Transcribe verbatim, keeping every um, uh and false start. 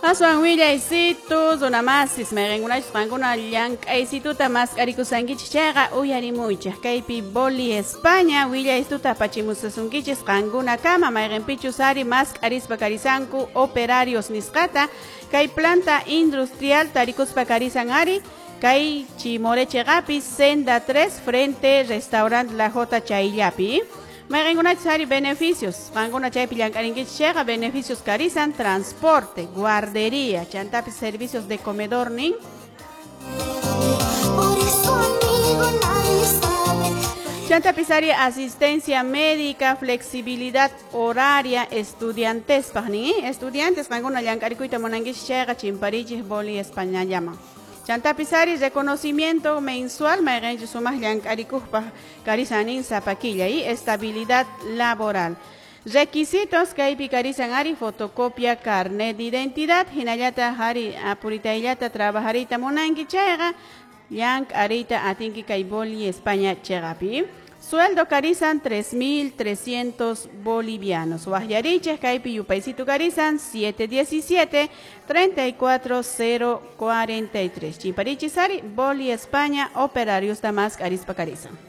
Aswan willaysitu runamasis mayqinkunachus qankuna llank'aysituta mask'arikusankichis chayqa uyarimuychik kaypi Boli España willaystuta apachimusasunkichis qankunakama mayqinpichus ari mask'arispa karisanku operarios nisqata kay planta industrial tarikuspa karisan ari kay Chimoré chiqapi Senda tres frente restaurant La Jota chayllapi. Mayqinkunachus ari beneficios, qankuna chaypi llank'arinkichis chayqa beneficios karisan transporte, guardería, chantapis servicios de comedor nin. Por eso, amigo, nadie sabe. Chantapis ari asistencia médica, flexibilidad horaria, estudiantespaq nin, estudiantes qankuna llank'arikuyta munankichis chayqa chimparichis Boli Españallaman. Chantapis ari reconocimiento mensual mayqinchus sumaq llank'arikuqpaq karisan nin sapa killa y estabilidad laboral. Requisitos kaypi karisan ari fotocopia carnet de identidad hinallataq ari apuritayllata trabajariyta munanki chayqa llank'ariyta atinki kay Boli España chiqapi. Sueldo karisan tres mil trescientos bolivianos. Waqyarichik kaypi yupaysitu karisan siete diecisiete treinta y cuatro cero cuarenta y tres. Chimparichis ari Boli España operarios mask'arispa karisan.